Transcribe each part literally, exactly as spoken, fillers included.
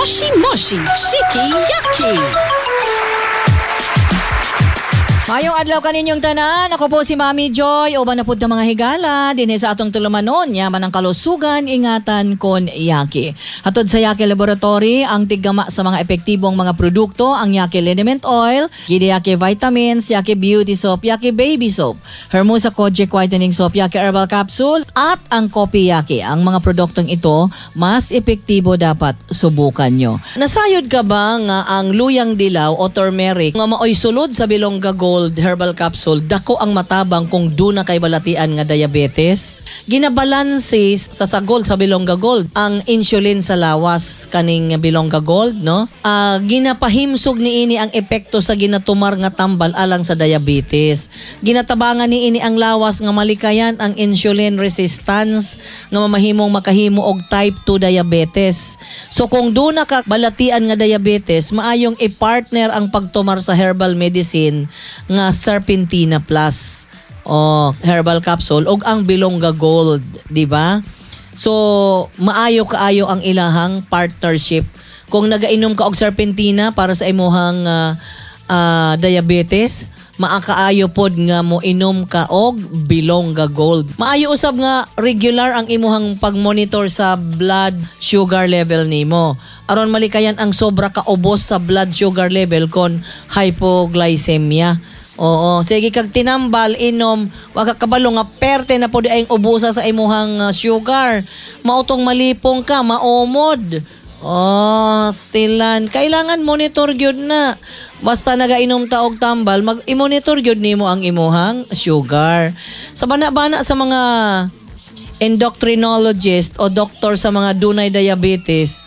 Moshi Moshi Shiki Yaki. Mayong adlaw kaninyong tanan. Ako po si Mami Joy. Uban na pud ta, mga higala dinhi sa atong tulumanon. Yaman ang kalusugan, ingatan kon Yaki. Hatod sa Yaki Laboratory, ang tiggama sa mga epektibong mga produkto, ang Yaki Liniment Oil, Gidi Yaki Vitamins, Yaki Beauty Soap, Yaki Baby Soap, Hermosa Kojic Whitening Soap, Yaki Herbal Capsule, at ang Kopi Yaki. Ang mga produktong ito, mas epektibo, dapat subukan nyo. Nasayod ka ba nga ang luyang dilaw o turmeric nga maoy sulod sa Bilongga Gold Herbal Capsule, dako ang matabang kung duna kay balatian nga diabetes? Ginabalanse sa sagol sa Bilongga Gold ang insulin sa lawas kaning Bilongga Gold, no? Ah, ginapahimsog niini ang epekto sa ginatumar nga tambal alang sa diabetes. Ginatabangan niini ang lawas nga malikayan ang insulin resistance nga mamahimong makahimo og type two diabetes. So kung duna ka balatian nga diabetes, maayong i-partner ang pagtumar sa herbal medicine nga Serpentina Plus o herbal capsule og ang Bilongga Gold, di ba? So maayo kaayo ang ilahang partnership. Kung nagainom ka og Serpentina para sa imuhang ah, ah, diabetes, maakaayo pod nga mo inom ka og Bilongga Gold. Maayo usab nga regular ang imuhang pag-monitor sa blood sugar level nimo, aron malikayan ang sobra ka ubos sa blood sugar level kon hypoglycemia. Oo, sige kag tinambal, inom, wa ka kabalo nga perte na pud ay ubusa sa imuhang uh, sugar. Mautong malipong ka, maomod. Oh, stilan. Kailangan monitor gyud na. Basta nagainom ta og tambal, mag i-monitor gyud nimo ang imuhang sugar. Sa bana-bana sa mga endocrinologist o doktor sa mga dunay diabetes,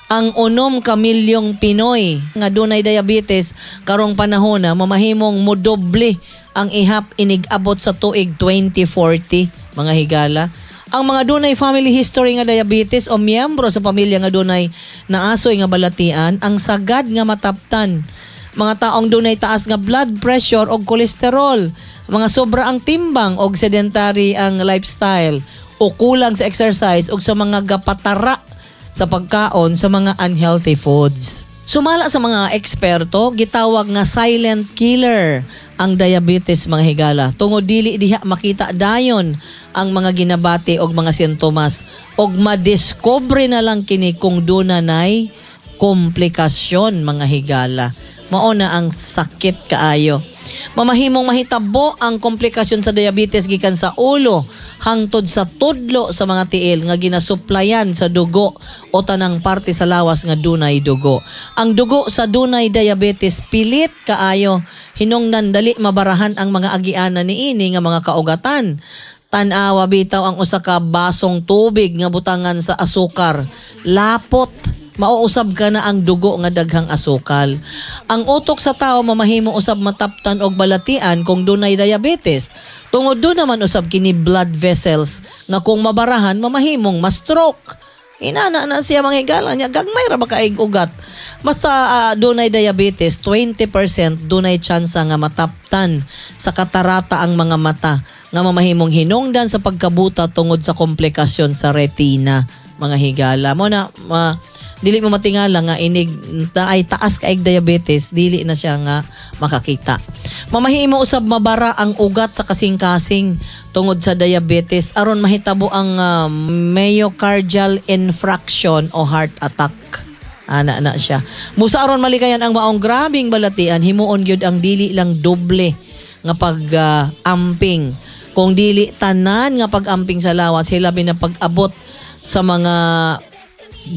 ang unom ka milyong Pinoy nga dunay diabetes karong panahon na mamahimong modoble ang ihap inig abot sa tuig twenty forty, mga higala. Ang mga dunay family history nga diabetes o miyembro sa pamilya nga dunay naasoy nga balatian, ang sagad nga mataptan. Mga taong dunay taas nga blood pressure o kolesterol, mga sobra ang timbang og sedentary ang lifestyle o kulang sa exercise o sa mga gapatara sa pagkaon sa mga unhealthy foods. Sumala sa mga eksperto, gitawag nga silent killer ang diabetes, mga higala. Tungod dili diha makita dayon ang mga ginabati og mga sintomas og madiskubre na lang kini kung duna nay komplikasyon, mga higala. Mao na ang sakit kaayo. Mamahimong mahitabo ang komplikasyon sa diabetes gikan sa ulo hangtod sa tudlo sa mga tiil nga ginasuplayan sa dugo o tanang parte sa lawas nga dunay dugo. Ang dugo sa dunay diabetes pilit kaayo, hinungdan dali mabarahan ang mga agianan niini nga mga kaugatan. Tan-awa bitaw ang usa ka basong tubig nga butangan sa asukar. Lapot, mauusab ka na ang dugo nga daghang asukal. Ang utok sa tao mamahimo usab mataptan og balatian kung dunay diabetes. Tungod duna man usab kini blood vessels nga kung mabarahan mamahimong ma-stroke. Inana na siya, mga higala niya, gagmay ra ba kaig ugat. Basta ah, dunay diabetes, twenty percent dunay tsansa nga mataptan sa katarata ang mga mata nga mamahimong hinungdan sa pagkabuta tungod sa komplikasyon sa retina, mga higala. Mo na ma, dili mo matingala nga inig ta ay taas kaig diabetes, dili na siya nga makakita. Mamahimo usab mabara ang ugat sa kasing-kasing tungod sa diabetes aron mahitabo ang ah, myocardial infarction o heart attack. Ana na siya. Busa aron malikayan ang maong grabing balatian, himuon gyud ang dili lang doble nga pag-amping, kung dili tanan nga pag-amping sa lawas, hilabi na pag-abot sa mga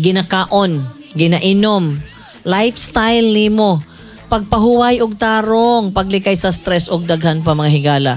ginakaon, ginainom, lifestyle nimo, pagpahuway og tarong, paglikay sa stress og daghan pa, mga higala.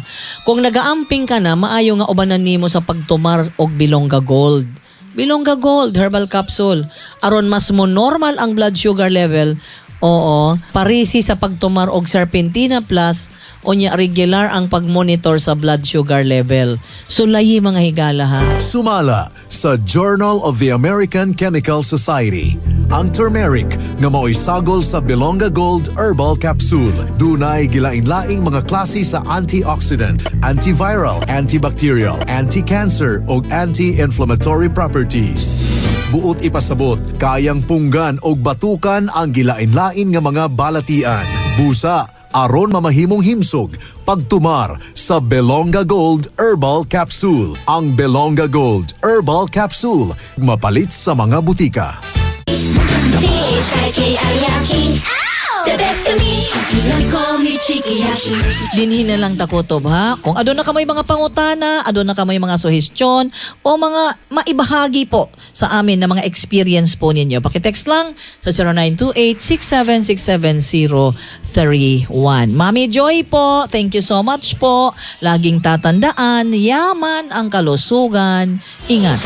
Kung nagaamping ka na, maayo nga ubanan nimo sa pagtumar og Bilongga Gold. Bilongga Gold Herbal Capsule. Aron mas mo normal ang blood sugar level. Oo, parisi sa pagtumar og Serpentina Plus unya regular ang pagmonitor sa blood sugar level. Sulayi, mga higala, ha. Sumala sa Journal of the American Chemical Society, ang turmeric nga mao'y sagol sa Bilonga Gold Herbal Capsule, dunay gilain-laing mga klase sa antioxidant, antiviral, antibacterial, anti-cancer ug anti-inflammatory properties. Buot ipasabot, kayang punggan og batukan ang gilain-lain nga mga balatian. Busa, aron mamahimong himsog, pagtumar sa Belonga Gold Herbal Capsule. Ang Belonga Gold Herbal Capsule, mapalit sa mga butika. C H I K I Y A K I. The best kami. They call me Chikiyashi. Dinhi na lang ta kutob, ha. Kung aduna ka may mga pangutana, aduna ka may mga suhestyon o mga maibahagi po sa amin na mga experience po ninyo. Paki-text lang sa zero nine two eight, six seven six seven zero three one. Mami Joy po, thank you so much po. Laging tatandaan, yaman ang kalusugan. Ingat.